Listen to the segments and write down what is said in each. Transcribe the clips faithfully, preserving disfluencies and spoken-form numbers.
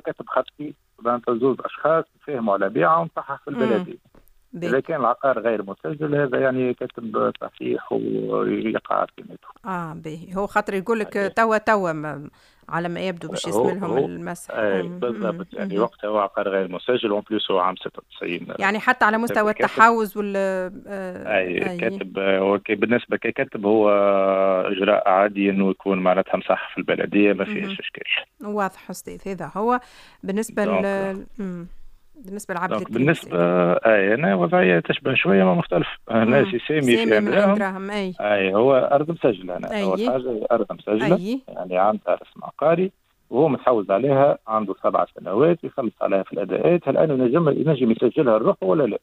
كاتب خطي، معناتها زوج اشخاص تفاهموا على بيعه ومصحح في البلدية. اذا كان العقار غير مسجل هذا يعني كاتب صحيح ويقع قيمته. اه باهي، هو خاطر يقول لك توا توا على ما يبدو باش يسمى المسح. اي بالضبط، يعني وقتها هو عقار غير مسجل en plus هو عام ستة وتسعين، يعني حتى على مستوى التحوز وال آه اي, أي. كاتب هو بالنسبة ككاتب هو اجراء عادي انه يكون معناتها مصح في البلديه، ما فيهش اشكال. واضح استاذ، هذا هو بالنسبة ل بالنسبة لعبد الكريم. بالنسبة اي انا وضعية تشبه شوية ما مختلف. انا سي سامي في دراهم، اي اي هو ارض مسجله، انا اول حاجة ارض مسجله، أي. يعني عندها رسم عقاري وهو متحوز عليها عنده سبع سنوات يخلص عليها في الاداءات. هل انه ينجم ينجم يسجلها لروحه ولا لا؟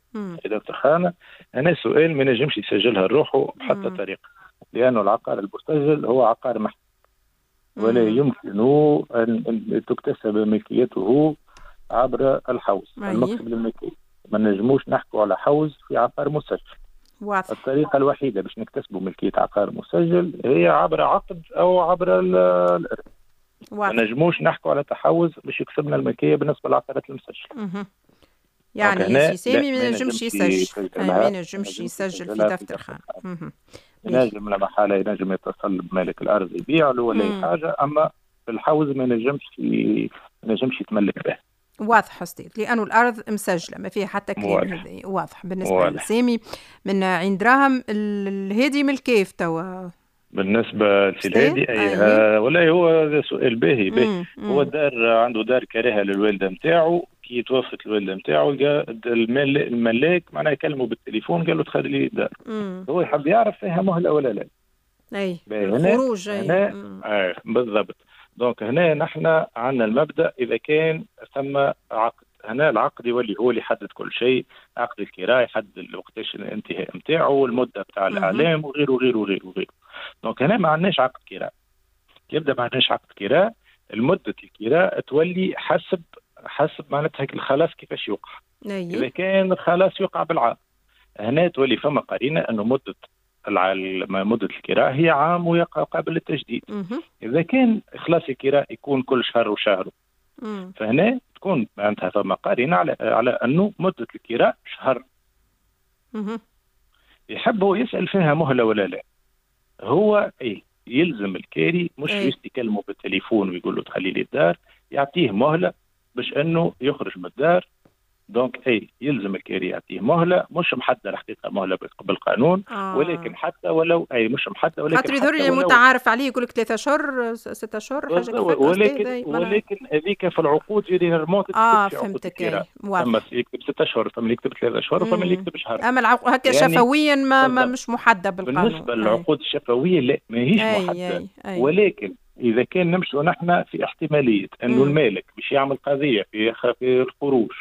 دكتور خانه انا سؤال، ما ينجمش يسجلها لروحه بحتى طريقه، لانه العقار المسجل هو عقار محكي ولا يمكن ان تكتسب ملكيته عبر الحوز المكتب للملكية. ما نجموش نحكوا على حوز في عقار مسجل. واضح. الطريقة الوحيدة باش نكتسبوا ملكية عقار مسجل هي عبر عقد أو عبر الإرث. ما نجموش نحكوا على تحوز باش يكسبنا الملكية بالنسبة للعقارات المسجلة. يعني سي سامي ما ينجمش يسجل، ما ينجمش يسجل في دفتر خان. ينجم لا محالة ينجم يتصل بمالك الأرض يبيع له ولا أي حاجة، أما في الحوز ما ينجمش ما ينجمش يتملك به. واضح أستاذ، لأنه الأرض مسجلة ما فيها حتى كلام. هذا واضح بالنسبة لسامي من عين دراهم. الهادي من الكيف توا بالنسبة للهادي أي آه والله هو سؤال باهي باهي. هو دار عنده دار كارهة للوالدة نتاعو، كي توفت الوالدة نتاعو الملاك معناها كلمة بالتليفون قال له تخلي لي الدار. هو يحب يعرف فيها مهلة ولا لا. أي الخروج. أي آه بالضبط. donc هنا نحن عندنا المبدا اذا كان ثم عقد، هنا العقد يولي هو اللي يحدد كل شيء، عقد الكراء يحدد وقتاش الانتهاء نتاعو والمدة نتاع الاعلام وغيره وغيره وغيره وغيره. donc هنا ما عندناش عقد كراء. يبدا ما عندناش عقد كراء، المدة الكراء تولي حسب حسب معناتها الخلاص كيفاش يوقع. أيه. اذا كان الخلاص يوقع بالعام، هنا تولي فما قرينه انه مده مدة الكراء هي عام ويقع قابل للتجديد. إذا كان إخلاص الكراء يكون كل شهر وشهر، فهنا تكون معناتها فما قرينة على على أنه مدة الكراء شهر. مم. يحب هو يسأل فيها مهلة ولا لا. هو أي يلزم الكاري مش juste يكلمه بالتليفون ويقول له تخلي لي الدار، يعطيه مهلة باش أنه يخرج من الدار. donc اي يلزم الكاري يعطيه مهله، مش محددة الحقيقة مهله بالقانون، آه. ولكن حتى ولو اي مش محددة، ولكن خاطر يظهر لي متعارف عليه يقول لك ثلاثة اشهر ستة اشهر حاجة كيف، ولكن ولكن هذيك في العقود généralement اه فهمتك. ثم يكتب ستة اشهر، ثم اللي يكتب ثلاثة اشهر، وثم اللي يكتب شهر. اما العقود هكا يعني شفويا ما, ما مش محددة بالقانون. بالنسبة للعقود الشفويه لا ماهيش محددة، ولكن اذا كان نمشوا نحن في احتمالية انه المالك باش يعمل قضية في في الخروج،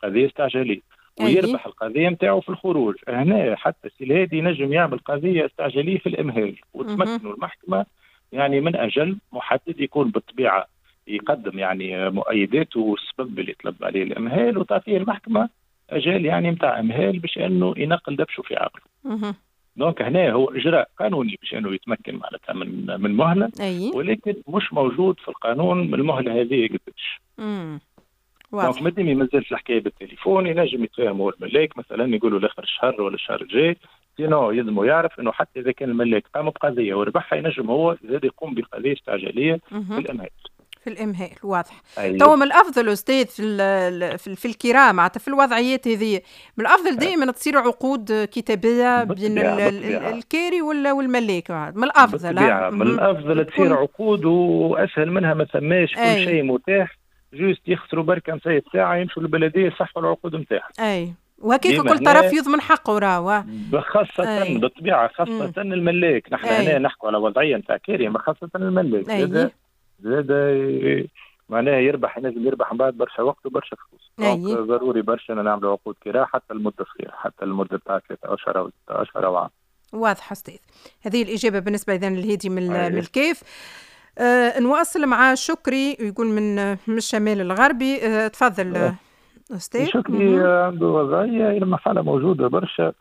قضية استعجاليه ويربح القضية نتاعو في الخروج، هنا حتى السي الهادي ينجم يعمل قضية استعجاليه في الامهال وتمكنوا المحكمة يعني من اجل محدد يكون بالطبيعة يقدم يعني مؤيداته والسبب اللي طلب عليه الامهال، وتعطيه المحكمة اجال يعني نتاع امهال باش انه ينقل دبشه في عقله. donc هنا هو اجراء قانوني باش انه يتمكن معناتها من من مهله، أي. ولكن مش موجود في القانون المهلة هذه قداش. donc مادام ما زالت الحكاية بالتليفون ينجم يتفاهم هو الملاك مثلا يقولوا لاخر الشهر ولا الشهر الجاي، sinon يلزمو يعرف انه حتى اذا كان الملاك قام بقضيه وربحها ينجم هو زاد يقوم بقضيه استعجاليه في الامهال. في الامهال واضح. أيوه. تو من الافضل استاذ في في, في الكراء معناتها في الوضعيات هذه من الافضل دائما تصير عقود كتابيه بين الكاري والملاك، من الافضل. من الافضل تصير عقود واسهل منها ما ثماش، كل أي. شيء متاح، juste يخسروا بركة نسيت ساعة يمشوا للبلديه يصحوا العقود نتاعهم. اي وهكاك كل طرف يضمن حقه راهو، خاصة أي. بالطبيعة خاصة مم. الملاك، نحن هنا نحكوا على وضعية نتاع كاري، ما خاصة الملاك زاد زاد معناها يربح، ينجم يربح من بعد برشا وقت وبرشا فلوس. donc ضروري برشا نعملوا عقود كراء حتى المدة صغيرة، حتى المدة تاع ثلاثة اشهر او ستة اشهر او عام. واضح استاذ، هذه الاجابة بالنسبة اذا للهادي من, من الكيف. آه نواصل مع شكري يقول من من الشمال الغربي. آه تفضل استاذ. شكري عنده وضعية المحالة موجودة برشا،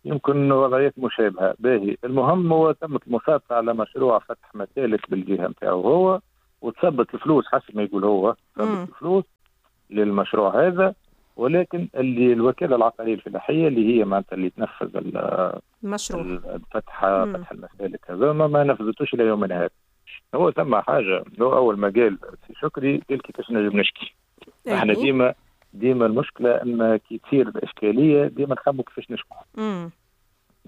يمكن وضعيات مشابهة. باهي، المهم هو تمت المصادقة على مشروع فتح مسالك بالجهة نتاعو هو، وتثبت الفلوس حسب ما يقول هو، ثبت الفلوس للمشروع هذا، ولكن اللي الوكالة العقارية الفلاحية اللي هي معناتها اللي تنفذ المشروع فتح فتح المسالك هذا ما, ما نفذتوش الى يومنا هذا. هو ثم حاجة، هو اول ما قال سي شكري قال كيفاش نجم نشكي. احنا ديما ديما المشكلة ان كي تصير الاشكالية ديما نخمو كيفاش نشكو.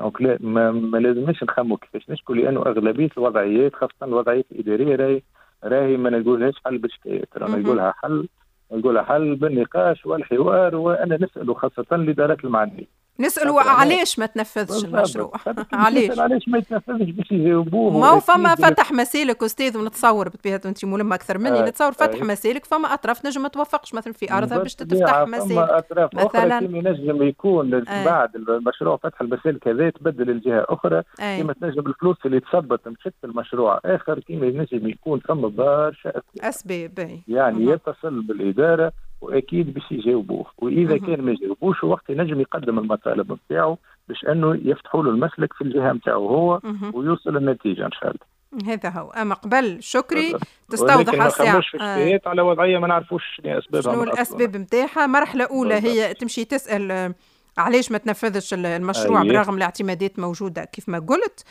donc لا ما, ما لازمش نخمو كيفاش نشكو، لانه اغلبية الوضعيات خاصة الوضعيات الادارية راهي راهي ما نقولهاش حل بالشكايات، راهي نقولها حل نقولها حل بالنقاش والحوار، وانا نساله خاصة الادارات المعنية. نسألوا علاش ما تنفذش المشروع؟ علاش علاش ما يتنفذش باش يجاوبوه. ما هو فما فتح مسالك استاذ، ونتصور بطبيعة انت ملمه اكثر مني، آه نتصور فتح آه مسالك فما اطراف نجم ما توافقش مثلا في ارضها باش تفتح مسالك اطراف مثلا اخرى، كيما ينجم يكون آه. بعد المشروع فتح المسالك هذا تبدل الجهة اخرى، آه. كيما تنجم الفلوس اللي تثبت مشت المشروع اخر، كيما ينجم يكون فما برشا اسباب. يعني مه. يتصل بالادارة واكيد باش يجاوبوه، واذا مه. كان ما يجاوبوش وقت ينجم يقدم المطالب نتاعو باش انه يفتحوا له المسلك في الجهة نتاعو هو مه. ويوصل النتيجة ان شاء الله. هذا هو. اما قبل شكري تستوضح الساعة ما آه. على وضعية ما نعرفوش شنو اسبابها، شنو الاسباب نتاعها. مرحلة اولى بالضبط. هي تمشي تسال علاش ما تنفذش المشروع أيه. برغم الاعتمادات موجودة كيف ما قلت.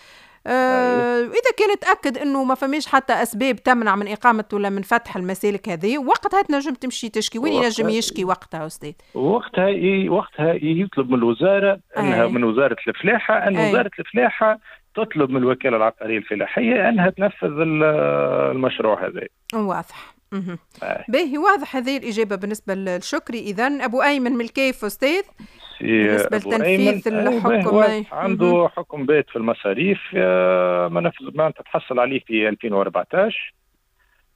آه إذا كانت تأكد أنه ما فماش حتى أسباب تمنع من إقامة ولا من فتح المسالك هذه، وقتها تنجم تمشي تشكي. وين ينجم يشكي وقتها أستاذ؟ وقتها وقتها يطلب من الوزارة أنها أي. من وزارة الفلاحة أن أي. وزارة الفلاحة تطلب من الوكالة العقارية الفلاحية أنها تنفذ المشروع هذا. واضح. باهي، واضح هذه الإجابة بالنسبة للشكري. إذن أبو أيمن من الكيف أستاذ بالنسبة لتنفيذ الحكم، عنده حكم بيت في المصاريف ما نفذ، ما تتحصل عليه في ألفين وأربعة عشر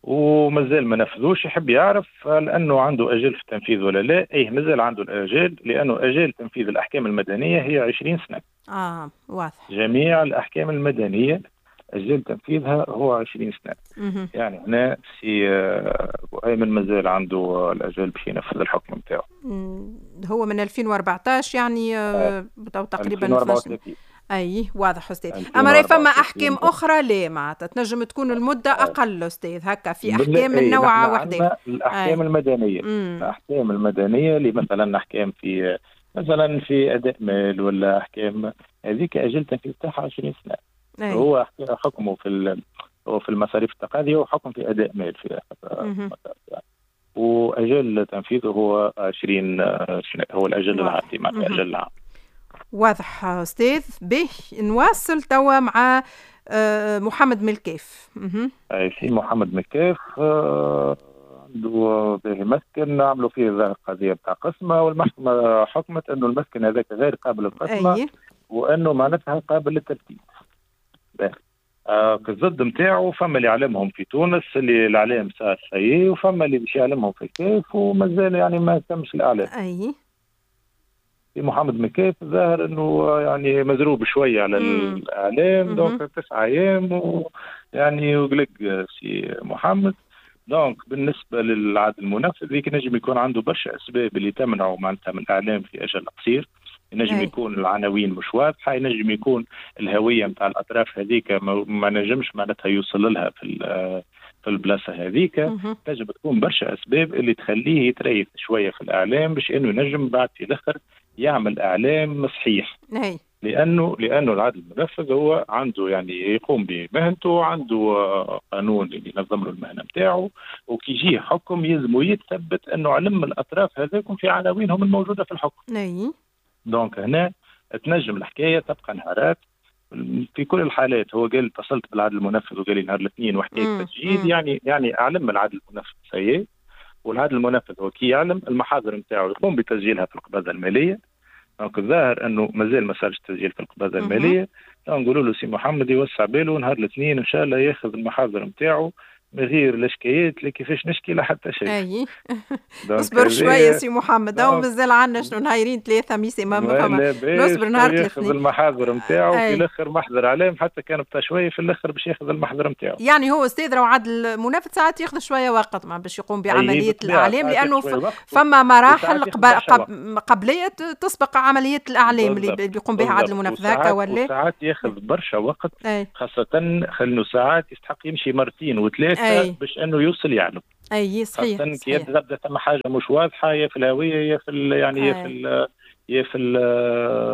ومازال ما نفذوش. يحب يعرف هل أنه عنده أجل في التنفيذ ولا لا. أيه مازال عنده الأجل، لأنه أجل تنفيذ الأحكام المدنية هي عشرين سنة. آه واضح. جميع الأحكام المدنية أجل تنفيذها هو عشرين سنة. مم. يعني هنا سي أبو أيمن مازال عنده الأجل باش ينفذ الحكم نتاعو. هو من ألفين وأربعة عشر يعني آه. تقريبا ألفين وأربعة وثلاثين. أي واضح أستاذ. أما راهي فما أحكام أخرى لا معناتها تنجم تكون المدة أقل أستاذ، هكا في أحكام من نوع واحدة. الأحكام أي. المدنية. مم. الأحكام المدنية اللي مثلا أحكام في مثلا في أداء مال ولا أحكام هذيك أجل تنفيذ تاعها عشرين سنة. أي. هو حكمه في هو في المصاريف التقاضية وحكم في أداء مال في وأجل تنفيذه هو عشرين سنة، هو الأجل العادي مع الأجل العام. واضح أستاذ. به نواصل توا مع محمد ملكيف. أي سي محمد ملكيف عنده به مسكن عملوا فيه قضية بتاع قسمة، والمحكمة حكمت أنه المسكن هذاك غير قابل للقسمة. أي. وأنه معناتها قابل للترتيب. آه الضد نتاعو فما اللي يعلمهم في تونس اللي الاعلام صار سيء، وفما اللي باش يعلمهم في الكيف ومازال يعني ما تمش الاعلام. اي في محمد مكيف ظاهر انه يعني مزروب شوية على مم. الاعلام، donc تسعة ايام ويعني وقلق سي محمد. donc بالنسبة للعدل المنفذ ذيك نجم يكون عنده برشا اسباب اللي تمنعه معناتها من الاعلام في اجل قصير. ينجم يكون العناوين مش واضحة، ينجم يكون الهوية نتاع الاطراف هذيك ما نجمش معناتها يوصل لها في في البلاصة هذيك. تنجم تكون برشا اسباب اللي تخليه يتريث شوية في الاعلام باش انه ينجم بعد في الاخر يعمل اعلام صحيح. أي. لانه لانه العدل المنفذ هو عنده يعني يقوم بمهنته، عنده قانون اللي ينظم له المهنة نتاعو، وكي يجي حكم يلزم يتثبت انه علم الاطراف هذاكم في عناوينهم الموجودة في الحكم. أي. donc هنا تنجم الحكاية تبقى نهارات في كل الحالات. هو قال اتصلت بالعدل المنفذ وقال لي نهار الاثنين وحكاية تسجيل، يعني يعني اعلم العدل المنفذ سيء، والعدل المنفذ هو كي يعلم المحاضر نتاعو يقوم بتسجيلها في القباضه المالية. donc الظاهر انه مازال ما صارش تسجيل في القباضه المالية. نقولوا له سي محمد يوسع باله نهار الاثنين ان شاء الله ياخذ المحاضر نتاعو من غير لا شكايات لا كيفاش نشكي لا حتى شيء. اي اصبر شوية سي محمد، هو مازال عندنا شنو نهارين ثلاثة ميسي ما فما، نصبر نهار الاثنين ياخذ المحاضر نتاعو في الاخر محضر عليهم حتى كان بتاع شوية في الاخر باش ياخذ المحضر نتاعو. يعني هو استاذ راهو عدل منافذ ساعات ياخذ شوية وقت مع باش يقوم بعملية الاعلام، لانه فما مراحل قبل قبليه تسبق عملية الاعلام اللي بيقوم بها عدل المنافذ هكا ولا ساعات ياخذ برشا وقت، خاصة خلينا ساعات يستحق يمشي مرتين وثلاثة وقتها باش انه يوصل يعلم. اي صحيح. خاصة كي تبدا ثم حاجة مش واضحة يا في الهوية يا في يعني يا في يا في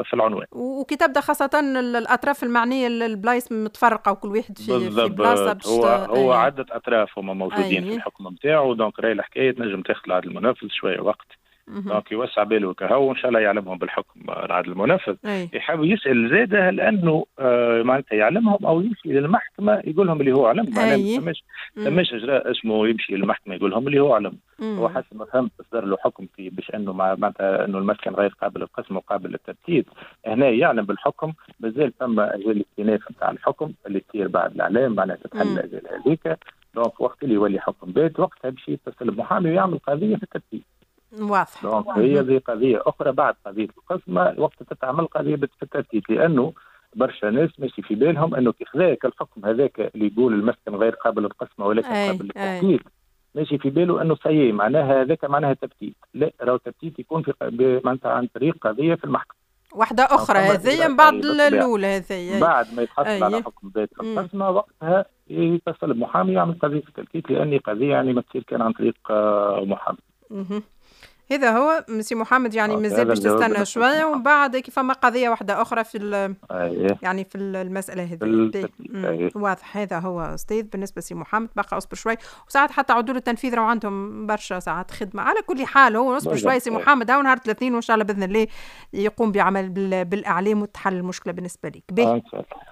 في العنوان. وكي تبدا خاصة الاطراف المعنية البلايص متفرقة وكل واحد في في بلاصة باش هو هو عده اطراف هما موجودين أيه. في الحكم نتاعو، donc راهي الحكاية تنجم تاخذ العدل المنفذ شوية وقت. donc يوسع باله كهو وان شاء الله يعلمهم بالحكم العدل المنفذ. يحاول يسال زاده لانه آه معناتها يعلمهم او يمشي للمحكمة يقول لهم اللي هو علم. معناها ما ثماش ثماش اجراء اسمه يمشي للمحكمة يقول لهم اللي هو علم. هو حسب ما فهمت صدر له حكم في باش انه معناتها انه المسكن غير قابل للقسم وقابل للتبتيت. هنا يعلم بالحكم، مازال ثم اجال الاستئناف نتاع الحكم اللي تصير بعد الاعلام معناتها تتحل الاجال هذيك. donc وقت اللي يولي حكم بات وقتها باش يتصل بمحامي ويعمل قضية في التبتيت. واضح. donc هي ذي قضية أخرى بعد قضية القسمة وقت تتعمل قضية في التبتيت، لأنه برشا ناس ماشي في بالهم أنه كي خذاك الحكم هذاك اللي يقول المسكن غير قابل للقسمة ولكن قابل للتبتيت، ماشي في باله أنه صحيح معناها هذاك معناها تبتيت. لا، راهو التبتيت يكون في معناتها عن طريق قضية في المحكمة واحدة أخرى هذه من بعد الأولى هذه بعد ما يتحصل على حكم بات في القسمة وقتها يتصل بمحامي يعمل قضية في التبتيت، لأن قضية يعني ما تصير كان عن طريق محامي. هذا هو مسي محمد، يعني مازال باش تستنى شوية ومن بعد كيف فما قضية واحدة اخرى في أيه. يعني في المسالة هذه. واضح. هذا هو استاذ بالنسبة سي محمد، بقى اصبر شوي، وساعات حتى عدول التنفيذ راهو عندهم برشا ساعات خدمة. على كل حال هو اصبر شوي سي محمد، هاو نهار الاثنين وان شاء الله باذن الله يقوم بعمل بالاعلام وتحل المشكلة بالنسبة لك. باهي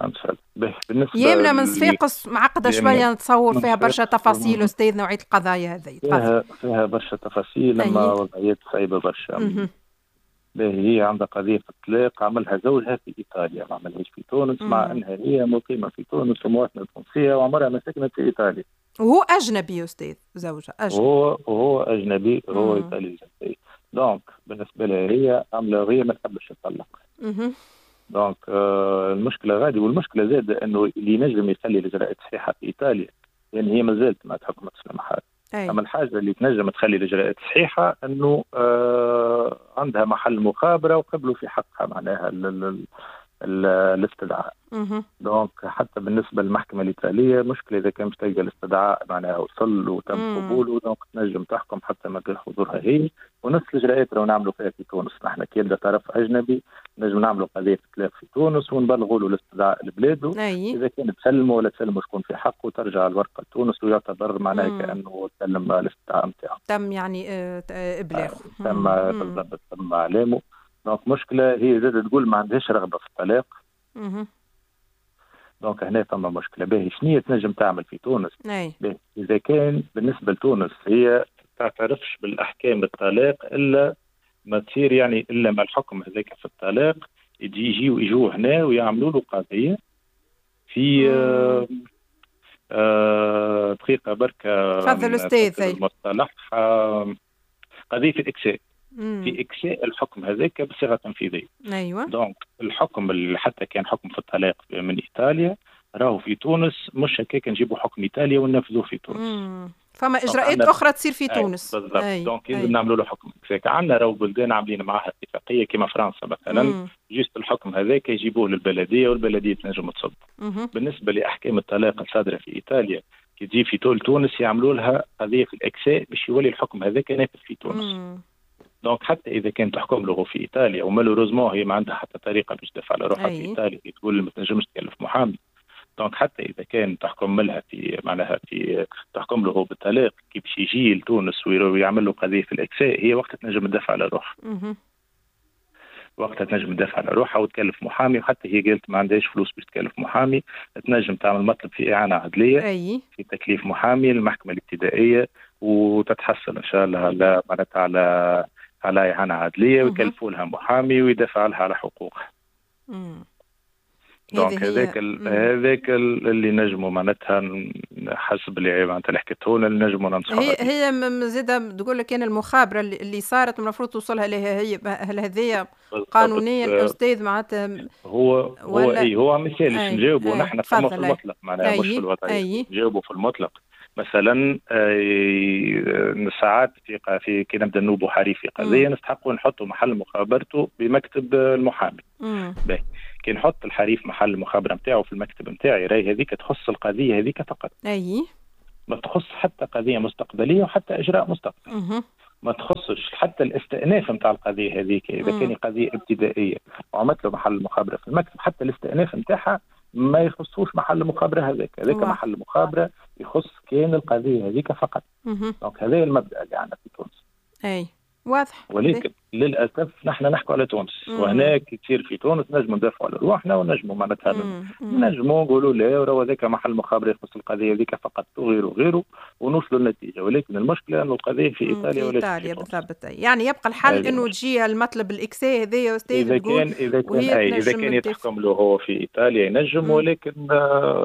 ان شاء الله. بالنسبة يمنى من صفاقس معقدة شوية، نتصور فيها برشا تفاصيل استاذ نوعية القضايا هذه. فيها فيها برشا تفاصيل لما وضعيات صعيبة برشا. باهي هي عندها قضية في الطلاق عملها زوجها في إيطاليا، ما عملهاش في تونس، مع أنها هي مقيمة في تونس ومواطنة تونسية وعمرها ما سكنت في إيطاليا. وهو أجنبي أستاذ، زوجها أجنبي. هو هو أجنبي، هو إيطالي الجنسية. donc بالنسبة لها هي عاملة هي ما تحبش تطلق. donc آه المشكلة غادي، والمشكلة زادة أنه اللي ينجم يخلي الإجراءات صحيحة في إيطاليا، لأن هي ما زالت ما تحكمت في المحاكم. أما الحاجة اللي تنجم تخلي الإجراءات صحيحة أنه آه عندها محل مخابرة وقبلوا في حقها معناها الاستدعاء. donc حتى بالنسبة للمحكمة الإيطالية مشكلة إذا كان مش تلقى الاستدعاء معناها وصل وتم قبوله، donc تنجم تحكم حتى ما غير حضورها هي. ونفس الإجراءات لو نعملوا فيها في تونس نحن كي يبدا طرف أجنبي نجم نعملوا قضية طلاق في تونس ونبلغوا له الاستدعاء لبلاده. إذا كان تسلموا ولا تسلموا شكون في حقه ترجع الورقة لتونس ويعتبر معناها كأنه سلم الاستدعاء نتاعو. تم يعني إبلاغه. تم بالضبط، تم إعلامه. donc مشكلة هي زادة تقول ما عندهاش رغبة في الطلاق. donc هنا فما مشكلة. باهي شنية تنجم تعمل في تونس؟ باهي إذا كان بالنسبة لتونس هي تعترفش بالأحكام الطلاق إلا ما تصير يعني إلا ما الحكم هذاك في الطلاق يجي يجيو يجوا هنا ويعملوا له قضية في آه آه دقيقة بركة. تفضل أستاذ. المصطلح آه قضية الإكساء. في إكساء الحكم هذاك بصيغة تنفيذية. أيوة. donc الحكم اللي حتى كان حكم في الطلاق من إيطاليا راهو في تونس مش هكاك نجيبوا حكم إيطاليا وننفذوه في تونس. مم. فما إجراءات أخرى تصير في تونس. بالضبط. donc لازم نعملوا له حكم إكساء. عندنا راهو بلدان عاملين معها اتفاقية كما فرنسا مثلا. مم. juste الحكم هذاك يجيبوه للبلدية والبلدية تنجم تصب. بالنسبة لأحكام الطلاق الصادرة في إيطاليا كي تجي في طول تونس يعملوا لها قضية في الإكساء باش يولي الحكم هذاك نافذ في تونس. مم. donc حتى اذا كان تحكم له في ايطاليا و malheureusement هي ما عندها حتى طريقه باش تدافع على روحها في ايطاليا، تقول ما تنجمش تكلف محامي. donc حتى اذا كان تحكم لها في معناها في تحكم له بالطلاق كي باش يجي لتونس ويعمل له قضية في الاكساء هي وقتها تنجم تدافع على روحها. وقتها تنجم تدافع على روحها وتكلف محامي، وحتى هي قالت ما عندهاش فلوس باش تكلف محامي، تنجم تعمل مطلب في اعانه عدليه. أي. في تكليف محامي للمحكمة الابتدائية وتتحصل ان شاء الله على معناتها على على إعانة عدلية ويكلفوا لها محامي ويدافع لها على حقوقها. donc هذاك هذاك اللي نجموا معناتها حسب اللي معناتها اللي حكيته لنا اللي نجموا ننصحوا. هي هي زاده تقول لك انا المخابره اللي صارت المفروض توصلها لها هي، هل هذه قانونيا الاستاذ معناتها؟ هو هو اي هو مثال نجاوبوا نحن في المطلق معناها مش في الوضعية، نجاوبوا في المطلق. مثلا ساعات في في كي نبدا نوبوا حريف في قضية نستحقوا نحطوا محل مخابرته بمكتب المحامي. باهي كي نحط الحريف محل المخابره نتاعو في المكتب نتاعي راهي هذيك تخص القضية هذيك فقط. اي ما تخص حتى قضية مستقبلية وحتى اجراء مستقبلي. ما تخصش حتى الاستئناف نتاع القضية هذيك، اذا كان قضية ابتدائية وعملت له محل مخابره في المكتب، حتى الاستئناف نتاعها ما يخصوش محل المخابره هذاك، هذاك محل المخابره يخص كان القضية هذيك فقط. donc هذا المبدا اللي عندنا في تونس. اي واضح. ولكن للاسف نحن نحكوا على تونس، وهناك كثير في تونس نجموا ندافعوا على رواحنا ونجموا معناتها نجموا نقولوا لا وراه هذاك محل مخابره يخص القضية هذيك فقط وغيره وغيره ونوصلوا للنتيجة. ولكن المشكلة انه القضية في ايطاليا ولا في ايطاليا بالضبط. يعني يبقى الحل انه تجي المطلب الاكساء هذا يا استاذ، اذا كان اذا كان أي اذا كان يتحكم له هو في ايطاليا ينجم، ولكن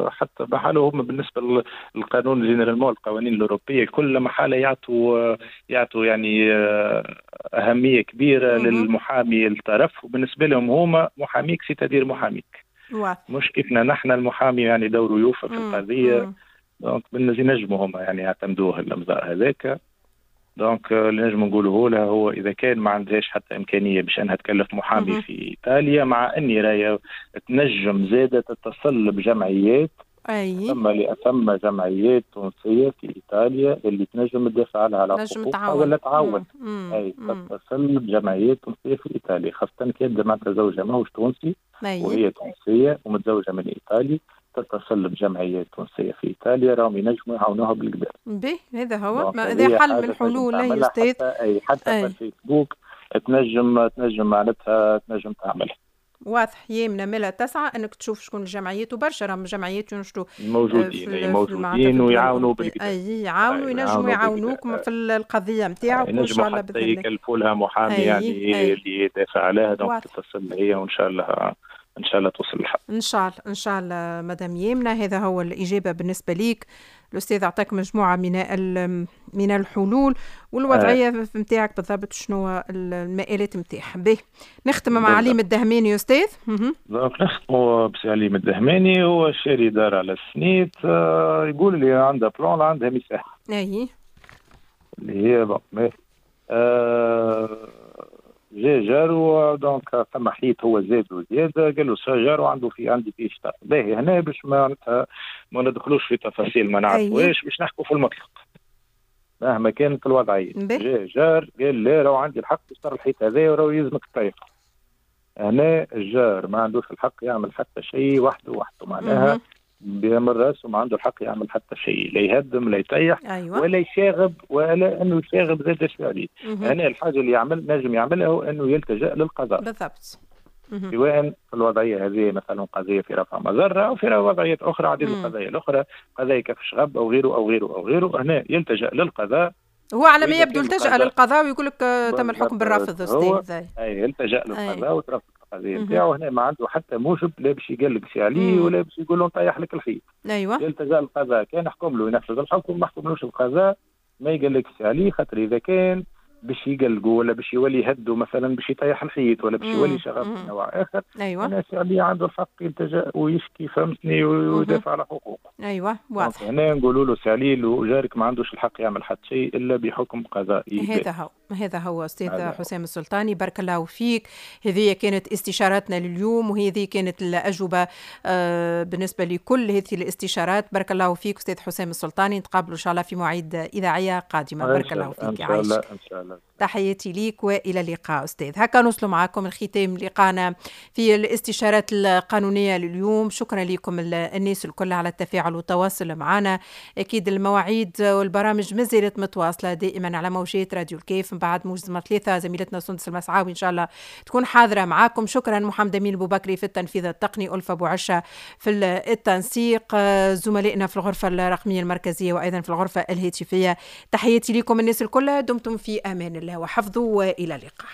حتى بحاله هم بالنسبة للقانون généralement القوانين الاوروبية كل محالة يعطوا يعطوا يعني اهمية كبيرة مم. للمحامي الطرف، وبالنسبة لهم هما محاميك c'est-à-dire محاميك، مش كيفنا نحن المحامي يعني دوره يوفى في القضية. donc بالنسبة ينجموا هما يعني يعتمدوه الامضاء هذاك. donc اللي نجم نقوله لها هو اذا كان ما عندهاش حتى امكانية باش انها تكلف محامي مم. في ايطاليا، مع اني رايه تنجم زاده تتصل بجمعيات. أي. ثم ثم جمعيات تونسية في ايطاليا اللي تنجم تدافع لها على حقوقها ولا تعاون. اي تتصل بجمعيات تونسية في ايطاليا، خاصة كي يبدا معناتها زوجها ماهوش تونسي. أي. وهي تونسية ومتزوجه من ايطالي، تتصل بجمعيات تونسية في ايطاليا راهم ينجموا يعاونوها بالقدا. به هذا هو، هذا حل من الحلول يا استاذ. حتى اي حتى أي. في الفيسبوك تنجم تنجم معناتها تنجم تعملها. واضح. يامنة ملا تسعى انك تشوف شكون الجمعيات، وبرشا راهم جمعيات ينشطوا موجودين موجودين ويعاونوا بالكدا. اي يعاونوا، ينجموا يعاونوك في القضية نتاعك وان شاء الله باذن الله يكلفوا لها محامي أي يعني أي. اللي يدافع عليها. donc تتصل هي وان شاء الله ان شاء الله توصل الحق. ان شاء الله ان شاء الله مدام يامنة. هذا هو الاجابة بالنسبة ليك. الاستاذ اعطاك مجموعة من من الحلول والوضعيه نتاعك بالضبط شنو المآلات نتاعها. باهي نختم مع عليم الدهماني يا استاذ. donc نختموا بسي عليم الدهماني، هو شاري دار على السنيت، آه يقول لي عندها plan عندها مساحة. اي اللي هي bon آه جا جارو donc ثم حيط هو زاد وزيادة، قال له جارو عنده في عندي فيه شطر. باهي هنا باش معناتها ما ندخلوش في تفاصيل ما نعرفوهاش، باش نحكوا في المطلق مهما كانت الوضعية. جا جار قال لا راهو عندي الحق تشتري الحيط هذا وراهو يلزمك الطريقة. هنا الجار ما عندوش الحق يعمل حتى شيء وحده وحده، معناها بيعمل راسه ما عنده الحق يعمل حتى شيء، لا يهدم لا يطيح. أيوة. ولا يشاغب، ولا انه يشاغب زاد عليه. هنا الحاجة اللي يعمل نجم يعملها هو انه يلتجأ للقضاء بالضبط، سواء في الوضعية هذه مثلا قضية في رفع مضرة او في وضعيات اخرى عديد القضايا الاخرى، قضايا كف شغب او غيره او غيره او غيره. هنا يلتجأ للقضاء. هو على ما يبدو التجأ للقضاء ويقول لك تم الحكم بالرفض استاذ. اي يلتجأ للقضاء وترفض القضية نتاعو. هنا ما عنده حتى موجب لا باش يقلق شي عليه ولا باش يقول له نطيح لك الحيط. ايوه يلتجأ للقضاء، كان حكم له ينفذ الحكم، ما حكملوش القضاء ما يقلقش عليه، خاطر اذا كان باش يقلقوا ولا باش يولي يهدوا مثلا باش يطيح الحيط ولا باش يولي شغب من نوع اخر. ايوه الناس اللي عنده الحق يلتجأ ويشكي فهمتني ويدافع على حقوقه. ايوه واضح. هنا نقولوا له سعليل وجارك ما عندوش الحق يعمل حتى شيء الا بحكم قضائي. هذا هو هذا هو استاذ حسام السلطاني، بارك الله فيك. هذه كانت استشاراتنا لليوم وهذه كانت الاجوبة بالنسبة لكل هذه الاستشارات. بارك الله فيك استاذ حسام السلطاني، نتقابلوا ان شاء الله في مواعيد اذاعية قادمة. بارك الله فيك. ان شاء الله ان شاء الله. تحياتي ليك والى اللقاء استاذ. هكا نوصلوا معكم الختام لقانا في الاستشارات القانونية لليوم. شكرا لكم الناس الكل على التفاعل والتواصل معنا. اكيد المواعيد والبرامج ما زالت متواصلة دائما على موجات راديو الكيف. من بعد موجز ثلاثة زميلتنا سندس المسعاوي ان شاء الله تكون حاضره معاكم. شكرا محمد امين بوبكري في التنفيذ التقني، ألفة بوعشه في التنسيق، زملائنا في الغرفة الرقمية المركزية وايضا في الغرفة الهاتفية. تحياتي لكم الناس الكل، دمتم في امان الله وحفظه والى اللقاء.